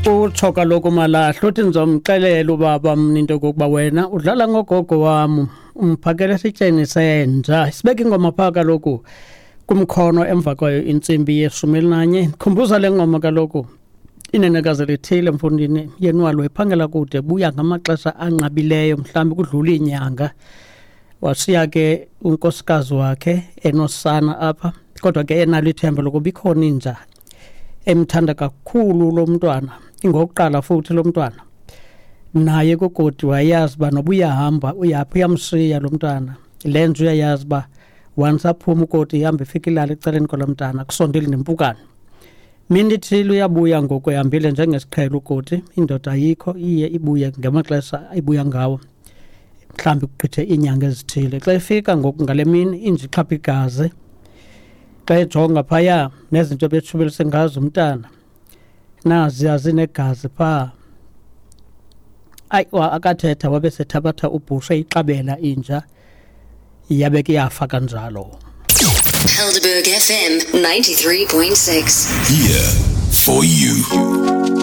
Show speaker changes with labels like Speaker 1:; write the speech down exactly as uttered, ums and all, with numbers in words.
Speaker 1: Utsho kaloku Malahla uthi ndizomxelela ubaba mna into yokokuba wena udlala ngogogo wam, umphakele esityeni senja. Sibeke ingoma phaa kaloku kumkhono emva kwayo intsimbi yeshumi elinanye. Khumbuza le ngoma kaloku inenekazi lithile mfundini yenwalo ephangela kude buya ngamaxesha anqabileyo, mhlawumbi kudlula iinyanga. Washiya ke unkosikazi wakhe enosana apha, kodwa ke enalo ithemba lokuba ikhona inja emthanda kakhulu lo mntwana, ingokuqala futhi lo mntwana. Naye kugodi wayazi uba noba uyahamba uyaphi uyamshiya lo mntwana. Le nja uyayazi uba once aphuma ukoti ihambe ifike ilale ecaleni kwalo mntana, kusondeli nempukane. Mini ithile uyabuya ngoku ehambile njengesiqhelo ukoti, indoda ayikho, iye ibuye ngamaxesha ibuya ngawo, mhlawumbi kugqithe iinyanga ezithile. Xa efika ngoku ngale mini inja ixhapha igazi, xa ejonga phaya nezinto ebetshubelise ngazo umntana naziya zinegazi phaa. Ayi, akathetha wabe sethabatha ubhushe ixabela inja, yabe ke yafa kanjalo.
Speaker 2: Helderberg F M ninety-three point six.
Speaker 3: Here for you.